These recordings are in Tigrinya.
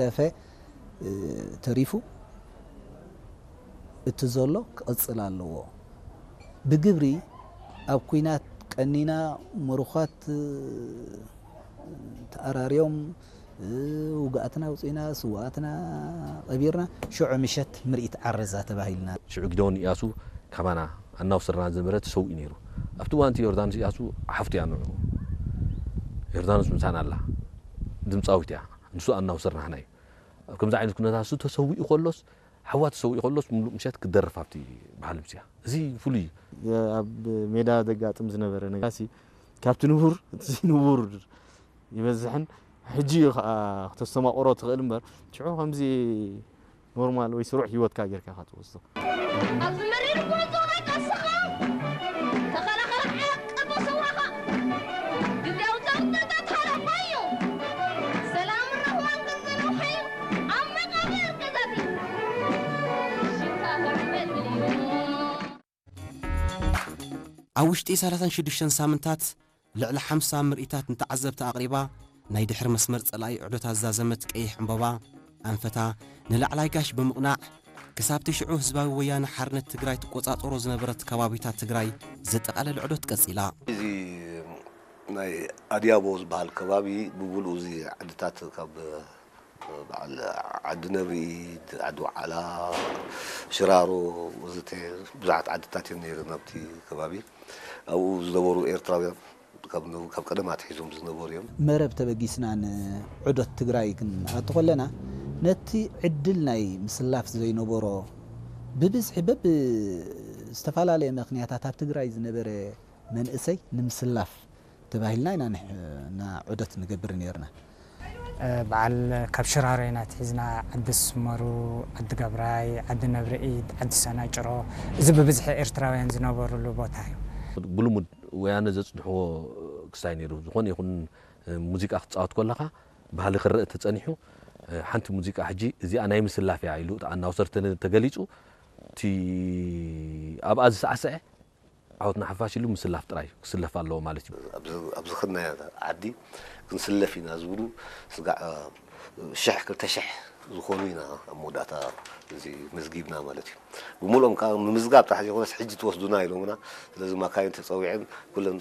ደፈ ተሪፉ እቲ ዘሎ ክቕጽል ኣለዎ። ብግብሪ ኣብ ኲናት ቀኒና ምሩኻት ተኣራርዮም ውግኣትና ኣውፂእና ስዋኣትና ቀቢርና ሽዑ ምሸት ምርኢት ዓረዛ ተባሂልና። ሽዑ ጊደዎን ኢያሱ ካባና ኣናውስርና ዝነበረ ተሰዊኡ ነይሩ። ኣብቲ እዋንቲ ዮርዳኖስ ኢያሱ ሓፍቱ እያ ንዑ። ዮርዳኖስ ምሳና ኣላ ድምፃዊት እያ። ንሱ ኣናውስርና ሃና እዩ። ኣብ ከምዚ ዓይነት ኩነታት እሱ ተሰዊኡ ከሎስ ሓዋ ተሰዊኡ ከሎስ ምሉእ ምሸት ክደርፍ ኣብቲ ባህሊ ምስያ እዚ ፍሉይ እዩ። ኣብ ሜዳ ዘጋጥም ዝነበረ ነጋሲ ካብቲ ንቡር እቲ ዘይንቡር ይበዝሕን ሕጂ እዩ ከዓ ክተስተማቕሮ ትኽእል እምበር ሽዑ ከምዚ ኖርማል ወይ ስሩዕ ህይወትካ ጌርካ ኢኻ ትወስዶ። ኣብዚ መሪር ጉዕዞ ናይ ቃልስኻ ተኸላኸል ሓቂ ብስዋኻ ግዜያዊ ጸቕጥታት ሃለፋ እዩ። ሰላም ርህዋን ቅጽል ውሓዩ ኣብ መቓብር ገዛቲ ሽታ ከርበል እዩ። ኣብ ውሽጢ ሰላሳን ሽዱሽተን ሳምንታት ልዕሊ ሓምሳ ምርኢታት ንተዓዘብቲ ኣቕሪባ፣ ናይ ድሕሪ መስመር ጸላኢ ዑደታት ዛዘመት ቀይሕ ዕምበባ ኣንፈታ ንላዕላይ ጋሽ ብምቕናዕ፣ ክሳብቲ ሽዑ ህዝባዊ ወያነ ሓርነት ትግራይ ትቆጻጸሮ ዝነበረት ከባቢታት ትግራይ ዘጠቓለለ ዑደት ቀጺላ። እዚ ናይ ኣድያቦ ዝበሃል ከባቢ ብምሉኡ እዚ ዓድታት ካብ በዓል ዓዲ ነብሪኢድ፣ ዓዲ ወዓላ፣ ሽራሮ ወዘተ ብዙሓት ዓድታት እየን ነይረን ኣብቲ ከባቢ። ኣብኡ ዝነበሩ ኤርትራውያን ካብ ነ- ካብ ቀደም ኣትሒዞም ዝነበሩ እዮም። መረብ ተበጊስና ንዑደት ትግራይ ክንኣቱ ከለና ነቲ ዕድል ናይ ምስላፍ ዘይነበሮ ብብዝሒ በብ ዝተፈላለየ ምኽንያታት ኣብ ትግራይ ዝነበረ መንእሰይ ንምስላፍ ተባሂልና ኢና ንሕ- እና ዑደት ንገብር ነርና። በዓል ካብ ሽራሮ ኢና ኣትሒዝና ዓዲ ስመሩ፣ ዓዲ ገብራይ፣ ዓዲ ነብርኢድ፣ ዓዲ ሰናጭሮ እዚ ብብዝሒ ኤርትራውያን ዝነበሩሉ ቦታ እዩ። ብልሙድ ወያነ ዘጽንሕዎ ክስታይ ነይሩ። ዝኾነ ይኹን ሙዚቃ ክትጻወት ከለኻ ባህሊ ክረእ ተጸኒሑ ሓንቲ ሙዚቃ ሕጂ እዚኣ ናይ ምስላፍ እያ ኢሉ ኣናውሰር ተገሊጹ እቲ ኣብኣ ዝሰዓሰዐ ዓወት ንሓፋሽ ኢሉ ምስላፍ ጥራይ ክስለፍ ኣለዎ ማለት እዩ። ኣብዚ ከድናዮ ዓዲ ክንስለፍ ኢና ዝብሉ ስጋዕ ሽሕ ክልተ ሽሕ ዝኾኑ ኢና ኣብ መወዳእታ እዚ መዝጊብና ማለት እዩ። ብምልኦም ከዓ ምምዝጋብ ጥራሕ ዘይኮነስ ሕጂ ትወስዱና ኢሎምና። ስለዚ ማካይን ተፀዊዐን ኩለን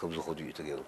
ከም ዝኸዱ እዩ ተገይሩ።